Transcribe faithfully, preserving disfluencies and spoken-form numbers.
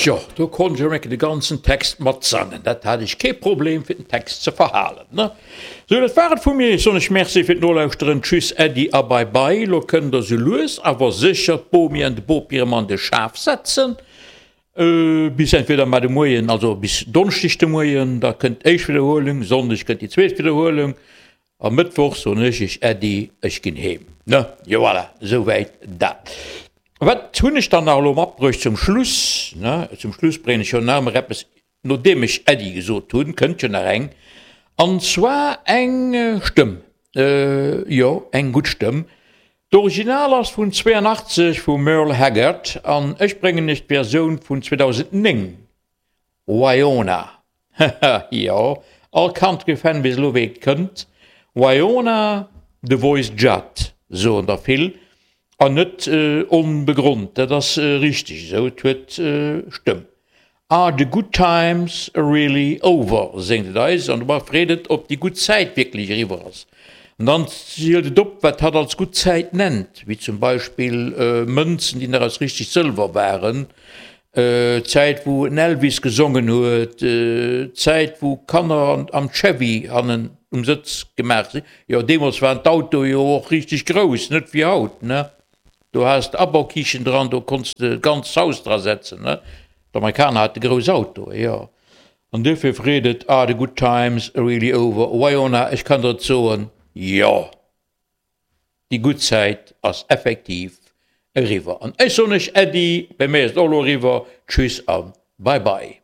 Tjo, do konnt ech erëm de ganzen Text matsangen. Dat hat ech kee Problem fir den Text ze verhalen, ne? Sou, dat war et vu mir. Ech soen iech Merci fir d'Nolauschteren. Tschüss, Äddi a Bye Bye. Lo kënnt der sou lues awer sécher d'Bomi an de Bopi erëm an de Schaf setzen. Bis entweder mar de Moien, also bis Donneschdeg de Moien, da kënnt d'éischt Widderhuelung, Sonndeg kënnt déi zweet Widderhuelung a Mëttwoch soen ech iech Äddi, ech ginn heem, ne? Jo, voilà, souwäit dat. Wat hunn ech dann nach elo matbruecht zum Schluss? Ne, zum Schluss bréngen ech jo nach ëmmer eppes, nodeem ech Äddi gesot hunn, kënnt jo nach eng, an zwar eng Stëmm, jo, eng gutt Stëmm. D'Original ass vun zwéianachtzeg vum Merle Haggard an ech bréngen iech d'Versioun vun zweedausendnéng, Wyona. Haha, jo, all Country-Fan weess elo wéi et kënnt, Wyona, The Voice Judd, soen der vill. An net onbegrond, dat ass richteg esou, et huet Stëmm. Are the good times really over? Séngt et eis, an dobei freet et, ob déi gutt Zäit wierklech eriwwer ass. An dann zielt et op, wat hatt als gutt Zäit nennt, wéi zum Beispill Mënzen, déi nach aus richteg Sëlwer waren, d'Zäit wou en Elvis gesongen huet, d'Zäit wou Kanner am Chevy hannen um Sëtz gemaach sinn. Jo, deemools waren d'Autoe jo och richteg grouss, net wéi haut, ne? Do has de Abaukichen dran, do konns de d'ganzt Haus dra setzen, ne? D'Amerikaner hate grouss Autoe, jo. An duerfir freet et, Are the good times really over? Wyona, ech kann der et soen, jo! Déi gutt Zäit ass effektiv eriwwer. An ech soen iech Äddi, bei mir ass et och elo eriwwer. Tschüss a bye bye.